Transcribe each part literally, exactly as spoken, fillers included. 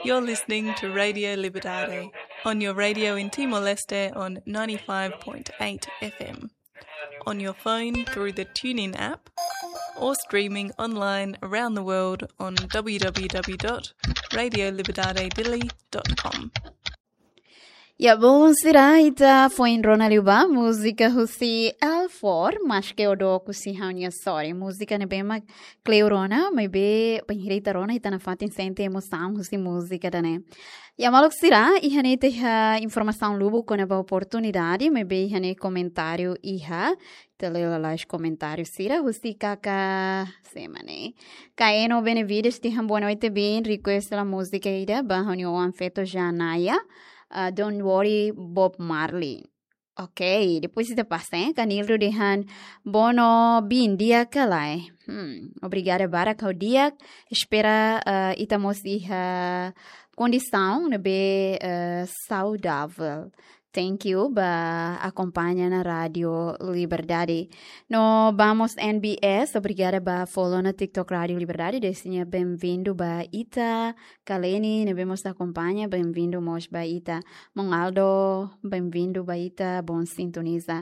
You're listening to Radio Liberdade on your radio in Timor-Leste on ninety-five point eight F M, on your phone through the TuneIn app, or streaming online around the world on w w w dot radio liberdade dili dot com. Ya, belun sira, ita foin rona liu ba múzika husi L four, Maske o Dook husi Ha'u-nia Sorin. Múzika ne'ebé mak kleur ona, maibé bainhira ita rona ita nafatin sente emosaun husi múzika ida-ne'e. Ya, maluk sira, iha ne'e ita iha informasaun lubuk kona-ba oportunidade, maibé iha ne'e komentáriu iha, ita lee lalais komentáriu sira, husi kaka semane. Kaeno Benevides dehan boa noite, bin, request hela múzika ida ba ha'u-nia oan feto Janaya, ah, Don't Worry, Bob Marley. Ok, depois ita pasa, eh? Kanildo dehan, bono bin, di'ak ka lae? Hmm, obrigada barak, ha'u di'ak, espera, ah, ita mós iha kondisaun ne'ebé, ah, saudável. Thank you ba akompaña ona Rádio Liberdade. No ba mós N B S, obrigada ba follow ona TikTok Rádio Liberdade, dehan sira benvindu ba ita. Kaleni, ne'ebé mós akompaña, benvindu mós ba ita. Mon Aldo, benvindu ba ita, bom sintoniza.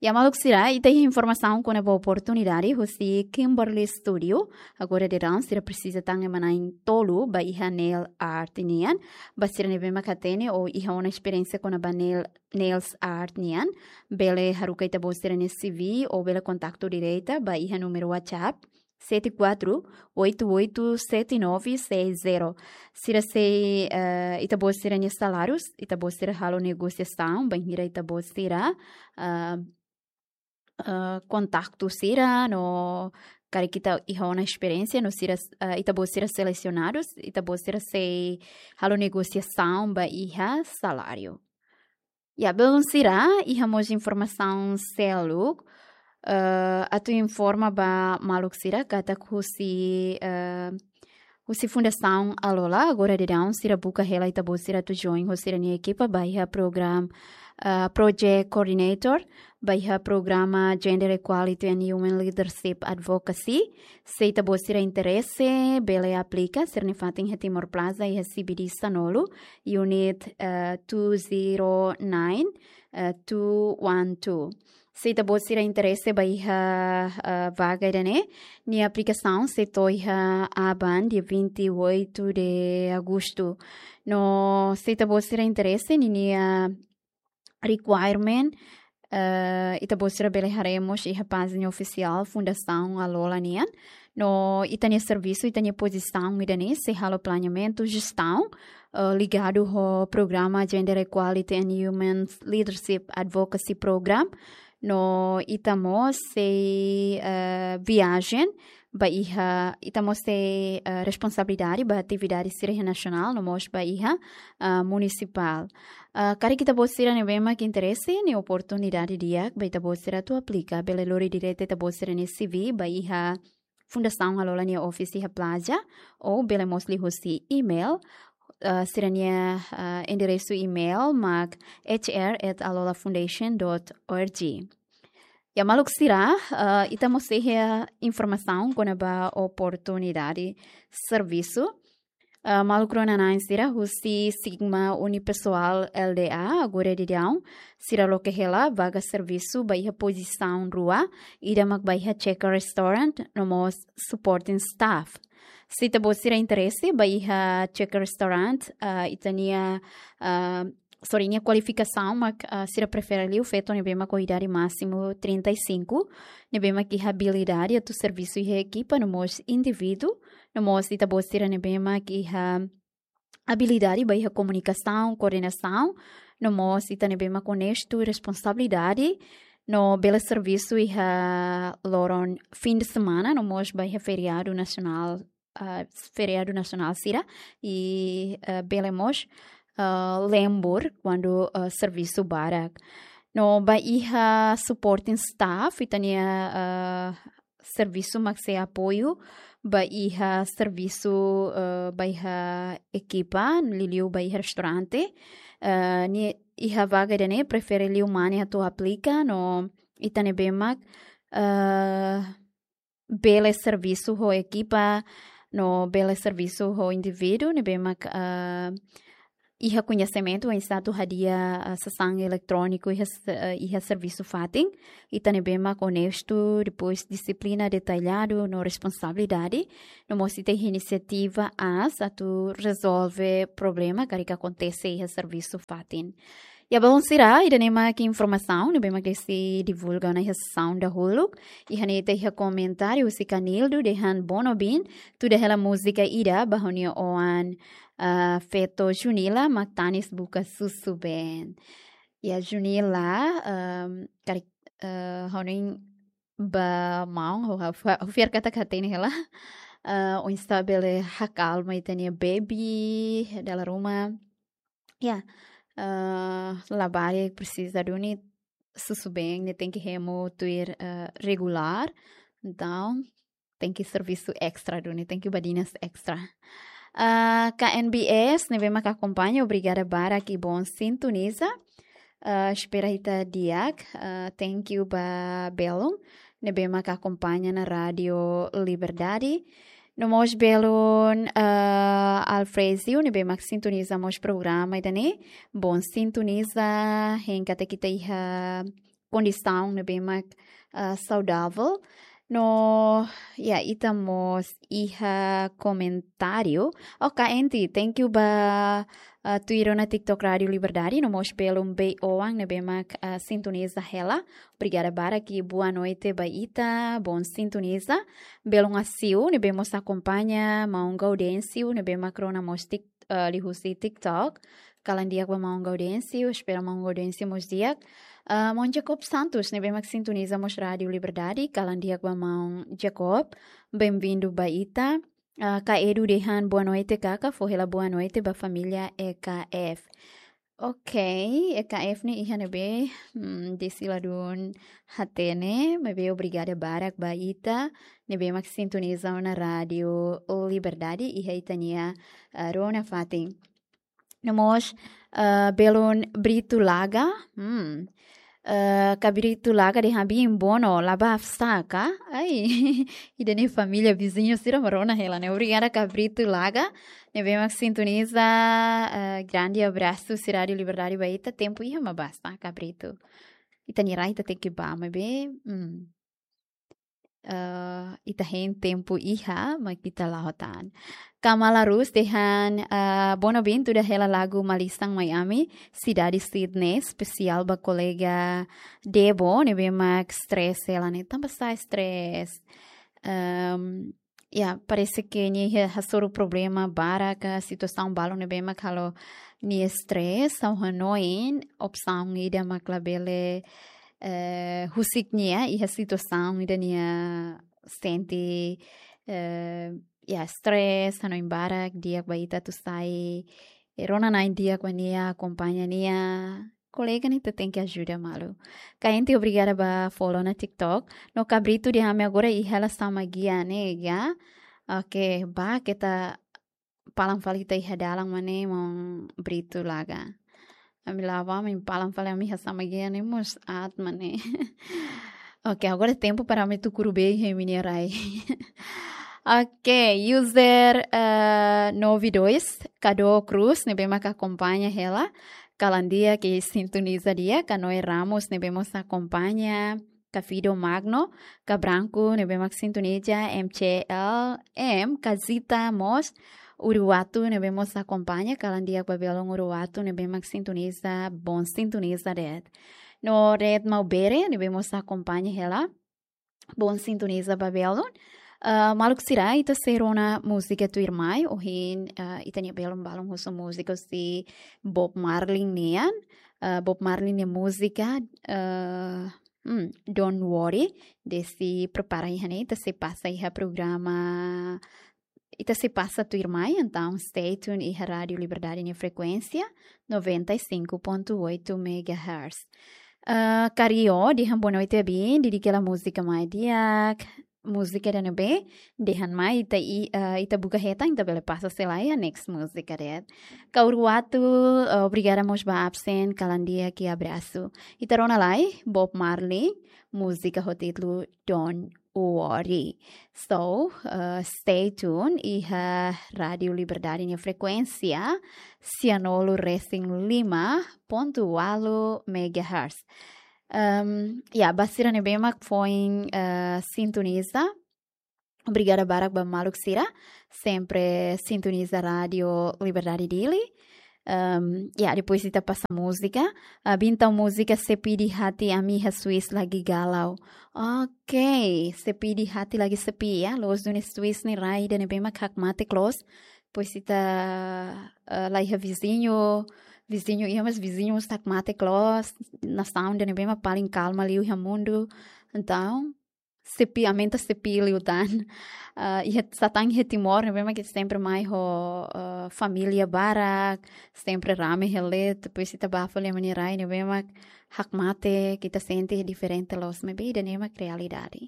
Ya, maluk sira, ita iha informasaun kona-ba oportunidade husi Kimberly Studio. Agora daudaun sira presiza tan ema-na'in tolu ba iha nail art nian. Ba sira ne'ebé mak hatene ou iha ona esperiénsia kona-ba nail, nails art nian, bele haruka ita-boot sira-nia C V ou bele kontaktu direta ba iha númeru WhatsApp sete quatro oito oito sete nove seis zero. Sira sei, eh, ita-boot sira-nia salárius, ita-boot sira halo negosiasaun bainhira ita-boot sira, ah, ah, kontaktu sira no karik ita iha ona esperiénsia no sira, ah, ita-boot sira selesionadus, ita-boot sira sei halo negosiasaun ba iha saláriu. Ya, belun sira, iha mós informasaun seluk, eh, atu informa ba maluk sira katak husi, eh, husi Fundasaun Alola, agora daudaun sira buka hela ita-boot sira atu join ho sira-nia ekipa ba iha program, eh, project coordinator, ba iha programa Gender Equality and Human Leadership Advocacy. Se ita-boot sira interese, bele aplika, sira-nia fatin iha Timor Plaza, iha C B D sanulu, unit, eh, two zero nine, eh, two one two. Se ita-boot sira interese ba iha, eh, vaga ida-ne'e, nia aplikasaun sei to'o iha aban dia vinte e oito de agosto. No se ita-boot sira interese, ninia requirement, eh, ita-boot sira bele haree mós iha pájina ofisiál Fundasaun Alola nian. No ita-nia servisu, ita-nia pozisaun ida-ne'e sei halo planeamentu, jestaun, eh, ligadu ho programa Gender Equality and Human Leadership Advocacy Program. No ita mós sei, eh, viajen ba iha, ita mós sei, eh, responsabilidade ba atividade sira iha nasionál, no mós ba iha, eh, munisipál. Eh, karik ita-boot sira ne'ebé mak interese, ne'e oportunidade di'ak ba ita-boot sira atu aplika, bele lori direta ita-boot sira-nia C V ba iha Fundasaun Alola nia office iha Plaza, ou bele mós liuhusi email, eh, sira-nia, eh, enderesu email mak H R at alolafoundation dot org. Ya, maluk sira, eh, ita mós iha informasaun kona-ba oportunidade servisu. Eh, maluk rona-na'in sira, husi Sigma Unipessoal L D A, agora daudaun sira loke hela vaga servisu ba iha pozisaun rua, ida mak ba iha Checker Restaurant, no mós supporting staff. Se ita-boot sira interese ba iha Checker Restaurant, eh, ita-nia, eh, sorry, nia kualifikasaun mak, ah, sira prefere liu feto ne'ebé mak ho idade másimu trinta e cinco, ne'ebé mak iha abilidade atu servisu iha ekipa, no mós indivíduu, no mós ita-boot sira ne'ebé mak iha abilidade ba iha komunikasaun, koordenasaun, no mós ita ne'ebé mak onestu, responsabilidade, no bele servisu iha loron fin de semana, no mós ba iha feriadu nasionál, ah, feriadu nasionál sira, i, ah, bele mós, ah, lembur kuandu, ah, servisu barak. No ba iha supporting staff, ita-nia, ah, servisu mak sei apoiu ba iha servisu, ah, ba iha ekipa, liuliu ba iha restaurante. Ah, nia iha vaga ida-ne'e prefere liu mane atu aplika, no ita ne'ebé mak, ah, bele servisu ho ekipa, no bele servisu ho indivíduu ne'ebé mak, ah, iha koñesimentu oinsá atu hadi'a, ah, sasán eletróniku iha s-, ah, iha servisu fatin. Ita ne'ebé mak onestu, depois dixiplina detalladu no responsabilidade. No mós ita iha inisiativa aas atu rezolve problema karik akontese iha servisu fatin. Ya, belun sira, ida-ne'e mak informasaun ne'ebé mak desi divulga ona iha sesaun dahuluk. Iha ne'e ita iha komentáriu husi Canildo dehan: "Bono bin, tuda hela múzika ida ba ha'u-nia oan, ah, feto Junila mak tanis buka susubeen." Ya, Junila, ehm, karik, eh, ha'u-nia ba maun, ha'u, ha'u, ha'u fiar katak hatene hela. Eh, oinsá bele hakalma ita-nia baby dala ruma. Ya, eh, labarik presiza duni susubeen, nia tenke hemu tuir, eh, regulár. Entaun, tenke servisu estra duni, tenke badinas estra. Ah, K N B S ne'ebé mak akompaña, obrigada barak i bon sintoniza. Ah, espera ita di'ak. Ah, thank you ba belun ne'ebé mak akompaña ona Rádiu Liberdade. No mós belun, ah, Alfrezio ne'ebé mak sintoniza mós programa ida-ne'e. Bon sintoniza, hein katak ita iha kondisaun ne'ebé mak, ah, saudavel. No, ya, ita mós iha komentáriu. Oke, Enti, thank you ba, ah, tuir ona TikTok Rádiu Liberdade, no mós belun bei-oan ne'ebé mak, ah, sintoniza hela. Obrigada barak i boa noite ba ita, bon sintoniza. Belun Asiu ne'ebé mós akompaña, maun Gaudêncio ne'ebé mak rona mós tik-, ah, liuhusi TikTok. Kalan di'ak ba maun Gaudêncio, espera maun Gaudêncio mós di'ak. Ah, maun Jacob Santos ne'ebé mak sintoniza mós Rádiu Liberdade, kalan di'ak ba maun Jacob. Bem-vindo ba ita. Ah, Kak Edu dehan boa noite, Kaka, fó hela boa noite ba família E K F. Oke, E K F ne'e iha ne'ebé, hmm, desi ladún hatene, maibé obrigada barak ba ita ne'ebé mak sintoniza ona Rádiu Liberdade iha ita-nia, ah, rona fatin. No mós, ah, belun Brito Laga. Hmm. Ah, Kak Brito Laga dehan bin bono, la bá afsa ka? Ai, ida-ne'e família viziñu sira mak rona hela ne'e. Obrigada Kak Brito Laga ne'ebé mak sintoniza, ah, grande abraço husi Rádiu Liberdade ba ita, tempu iha mak basta, Kak Brito. Ita-nia rai ita tenke bá, maibé, hmm. Ah, ita hein tempu iha, mak ita la'o tan. Kamala Rus dehan, ah, bono bin tuda hela lagu Malisan Miami, sidade Sydney, espesiál ba kolega Debo, ne'ebé mak stress hela ne'e. Tanba sá stress? Ehm, ya, parese ke nia iha hasoru problema barak ka situasaun balun ne'ebé mak halo nia stress, ha'u hanoin opsaun ida mak labele, eh, husik nia iha situasaun ida nia sente, eh, ya, stress, hanoin barak, di'ak ba ita atu sai, eh, rona na'in di'ak ba nia, akompaña nia. Kolega ne'e ita tenke ajuda malu. Kak Enti, obrigada ba follow ona TikTok. No Kak Brito dehan ami agora iha hela Samagia ne'e, ya. Oke, bá keta palan fali ita iha dalan mak ne'e, maun Brito Laga. Ami la'o bá, ami palan fali, ami iha Samagia ne'e mós aat mak ne'e. Oke, agora tempu para ami tuku rubei iha imi-nia rai. Oke, user, eh, nove dois, Cado Cruz, ne'ebé mak akompaña hela. Kalan di'ak i sintoniza di'ak, Kak Noé Ramos, ne'ebé mós akompaña. Kak Fido Magno, Kak Branco, ne'ebé mak sintoniza, M C L M, Kak Zita mós, Uriwatu, ne'ebé mós akompaña, kalan di'ak ba belun Uriwatu, ne'ebé mak sintoniza, bon sintoniza de'it. No Red Maubere, ne'ebé mós akompaña hela, bon sintoniza ba belun. Ah, maluk sira, ita sei rona múzika tuirmai, ohin, ah, ita-nia belun balun husu múzika husi Bob Marley nian. Ah, Bob Marley nia múzika, ah, hmm, Don't Worry, desi prepara iha ne'e, ita sei pasa iha programa, ita sei pasa tuirmai, entaun stay tuned iha Rádiu Liberdade nia frekuénsia, noventa e cinco ponto oito megahertz. Ah, Kario, dehan boa noite, bin, di'ak hela múzika mai di'ak. Múzika ida-ne'ebé, dehan mai ita i, ah, ita buka hetan, ita bele pasa sei la iha next múzika de'it. Kak Uriwatu, ah, obrigada mós ba absen, kalan di'ak i abrasu. Ita rona lai, Bob Marley, múzika ho títulu Don't worry. So, eh, stay tuned iha Rádiu Liberdade nia frekuénsia, sianulu resin lima pontu walu megahertz. Em, ya, ba sira ne'ebé mak foin, eh, sintoniza. Obrigada barak ba maluk sira, sempre sintoniza Rádiu Liberdade Dili. Em, ya, depois ita pasa múzika. Ah, bintang múzika Sepi di Hati Ami iha Swiss lagi galau. Ok, Sepi di Hati lagi sepi, ya. Loos duni Swiss nia rai ida ne'ebé mak hakmatek loos. Depois ita, eh, la iha viziñu, viziñu iha, mas viziñu mós hakmatek loos. Nasaun ida ne'ebé mak paling kalma liu iha mundu. Entaun, sepi, aumenta sepi liután. Ah, iha, satán iha Timor ne'ebé mak ita sempre mai ho, ah, família barak, sempre rame hela, depois ita bá fali ami-nia rai ne'ebé mak hakmatek, ita sente diferente loos, maibé ida-ne'e mak realidade.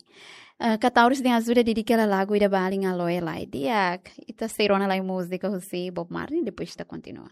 Ah, Kataurus nia ajuda dedika hela lagu ida ba alin Aloe lai. Di'ak, ita sei rona lai múzika husi Bob Marley, depois ita kontinua.